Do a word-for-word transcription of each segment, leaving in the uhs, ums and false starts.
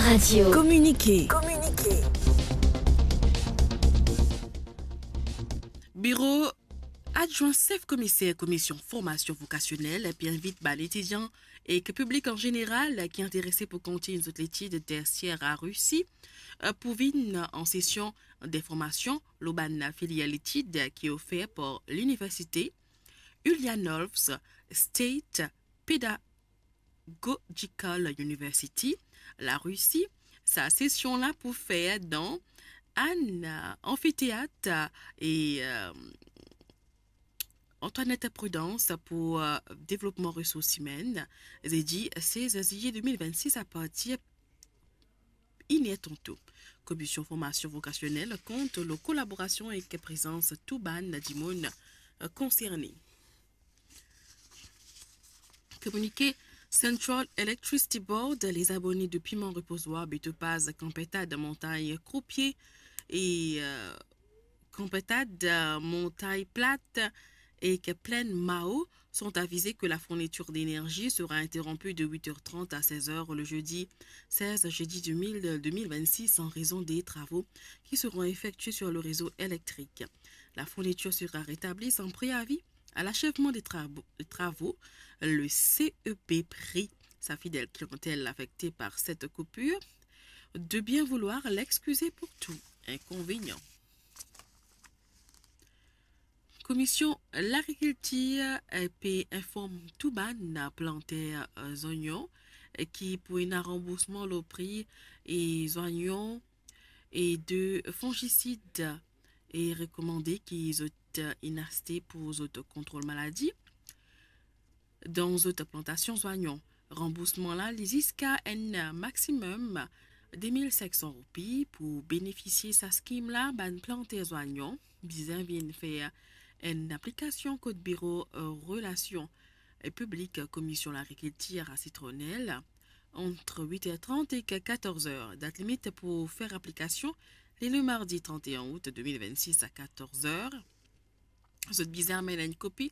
Radio. Communiqué. Biro adjwin sef komiser Komisyon Formasyon Vokasyonel pe invit bann etidian ek piblik an zeneral ki interese pou kontign zot letid tersyer a Risi, eh, pou vinn an sesion de formasyon lor bann filier letid ki ofer par Liniversite Ulyanovsk State Pedagogical University, Larisi. Sa sesion la pou fer dan enn, eh, anfiteat, eh, e, eh, Antoinette Prudence pou, eh, devlopman resours imenn, zedi sez zilye de mil vennsis apartir iner tanto. Komisyon Formasyon Vokasyonel kont lor kolaborasion ek prezans tou bann dimoun, eh, konserne. Kominike Central Electricity Board, les abonnés de Piment Reposoir, Betopaz, Kanpetad, Montagn Croupier e, eh, Kanpetad, Montagn Plat ek Plaine Mao sont avisés que la fourniture d'énergie sera interrompue de huit heures trente à seize heures le jeudi seize juillet deux mille, deux mille vingt-six en raison des travaux qui seront effectués sur le réseau électrique. La fourniture sera rétablie sans préavis à l'achèvement des travaux, des travaux, le C E P prie sa fidèle clientèle affectée par cette coupure de bien vouloir l'excuser pour tout inconvénient. Komisyon Lagrikiltir, eh, pe inform tou bann planter, eh, zonyon, eh, ki pou ena ranboursman lor pri e zonyon e de fongisid e rekomande ki zot, eh, inn aste pou zot kontrol maladi dan zot plantasion zonyon. Ranboursman la, li ziska enn maximum de mil sink san roupi. Pou benefisie sa skim la, bann planter zonyon bizin vinn fer enn aplikasion kot biro, eh, relasion, eh, piblik Komisyon Lagrikiltir a Sitronel ant wit er trant ek katorz er. Dat limit pou fer aplikasion, li le mardi trant e enn out de mil vennsis a katorz er. Zot bizin amenn enn kopi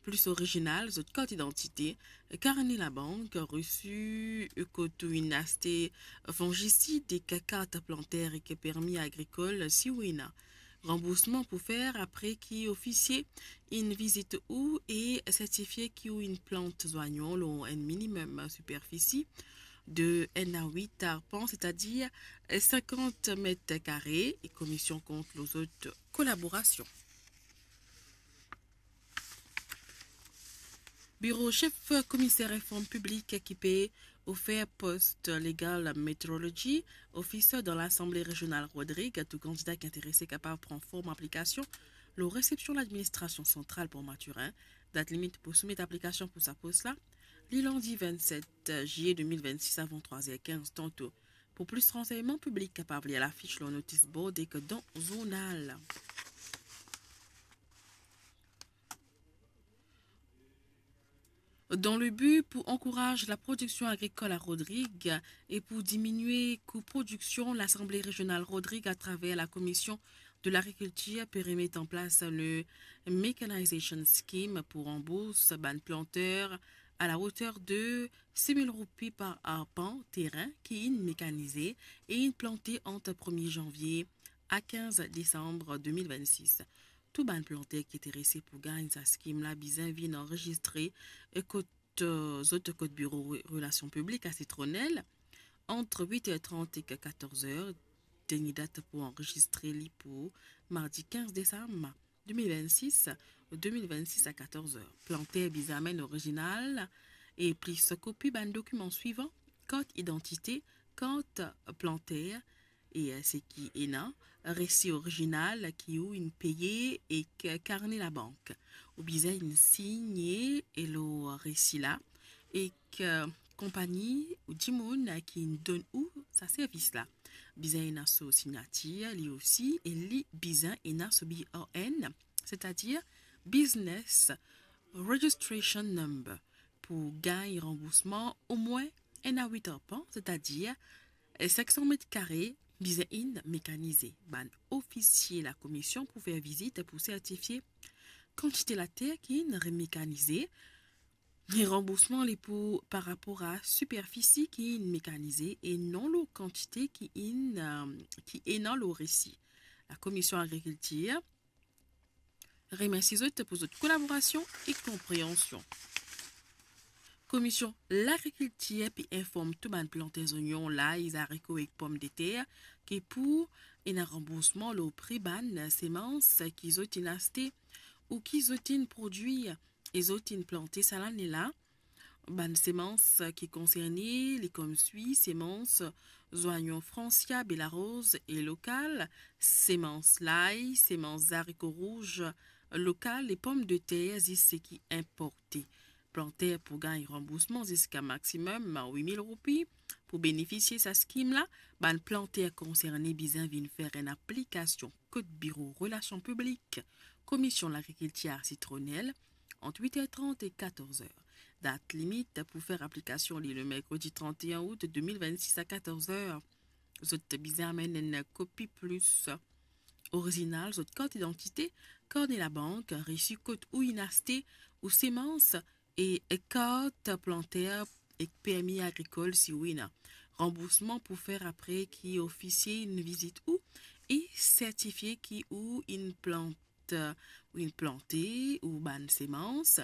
plis orizinal zot kart idantite, karne labank, resi kot ou inn aste fongisid ek kart planter ek permi agrikol si ou ena. Ranboursman pou fer apre ki ofisie inn vizit ou e sertifie ki ou inn plant zonyon lor enn minimum siperfisi de enn a wit arpan, setadir sinkant met kare, e komisyon kont lor zot kolaborasion. Biro sef komiser reform piblik ki pe ofer post legal metrology officer dan Lasanble Rezional Rodrig. Tou kandida ki interese kapav pran form aplikasion lor resepsion ladministrasion santral Port Mathurin. Dat limit pou soumet aplikasion pou sa pos la, li landi vennset zilye de mil vennsis avan trwa er kinz tanto. Pou plis ransegnman, piblik kapav lir lafis lor notis board ek dan zournal. Dan le bi pou ankouraz laprodiksion agrikol a Rodrig e pou diminie kou prodiksion, Lasanble Rezional Rodrig, atraver Lakomision de Lagrikiltir, pe remet an plas le Mechanization Scheme pou ranbours bann planter a la oter de sis mil roupi par arpan terin ki inn mekanize e inn plante ant premie zanvie a kinz desam de mil vennsis. Tou bann planter ki interese pou gagn sa skim la bizin vinn anrezistre, eh, kot, eh, zot kot biro re-, relasion piblik a Sitronel ant wit er trant ek katorz er. Dernie dat pou anrezistre li pou mardi kinz desam de mil vennsis, de mil vennsis a katorz er. Planter bizin amenn orizinal e plis kopi bann dokiman swivan: kart idantite, kart planter e, eh, seki ena, resi orizinal ki ou inn peye ek karne labank. Ou bizin inn signe lor resi la ek, eh, konpagni ou dimoun ki inn donn ou sa servis la. Bizin ena so signatir li osi e li bizin ena so B R N, setadir Business Registration Number, pou gagn ranboursman omwin enn a wit arpan, setadir, eh, sink san met kare, bizin inn mekanize. Bann ofisie lakomision pou fer vizit pou sertifie kantite later ki inn remekanize, Ranboursman li pou par rapor a siperfisi ki inn mekanize e non lor kantite ki inn, euh, ki ena lor resi. Lakomision Lagrikiltir remersi zot pou zot kolaborasion e konpreansion. Komision Lagrikiltir pe inform tou bann planter zonion, lay, zariko ek pomdeter ki pou ena ranboursman lor pri bann semans ki zot inn aste ou ki zot inn prodwir e zot inn plante sa lane la. Bann semans ki konserne li kom swi: semans zonion Francia, Belaroz e lokal, semans lay, semans zariko rouz lokal e pomdeter zis seki inporte. Planter pou gagn ranboursman ziska maximum wit mil roupi. Pou benefisie sa skim la, bann planter konserne bizin vinn fer enn aplikasion kot Biro Relasion Piblik, Komision Lagrikiltir Sitronel, ant wit er trant e katorz er. Dat limit pou fer aplikasion li le merkredi trant e enn out de mil vennsis a katorz er. Zot bizin amenn enn kopi plis orizinal zot kart idantite, karne labank, resi kot ou inn aste ou semans e kart planter ek permi agrikol si ou ena. Ranboursman pou fer apre ki ofisie inn vizit ou e sertifie ki ou inn plant, ou inn plante ou bann semans,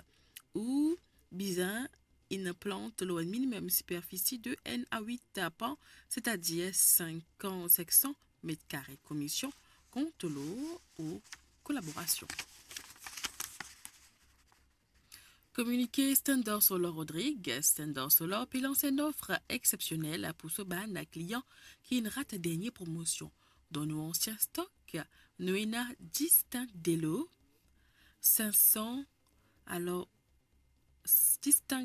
ou bizin inn plant lor enn minimem siperfisi de enn a wit arpan, setadir senk, senk san met kare. Komision kont lor ou kolaborasion. Kominike Standard Solar Rodrigues. Standard Solar pe lans enn lof exsepsionel pou so bann klian ki inn rat dernie promosion. Dan nou ansien stok, nou ena dis tank delo, senk san, alor, dis tank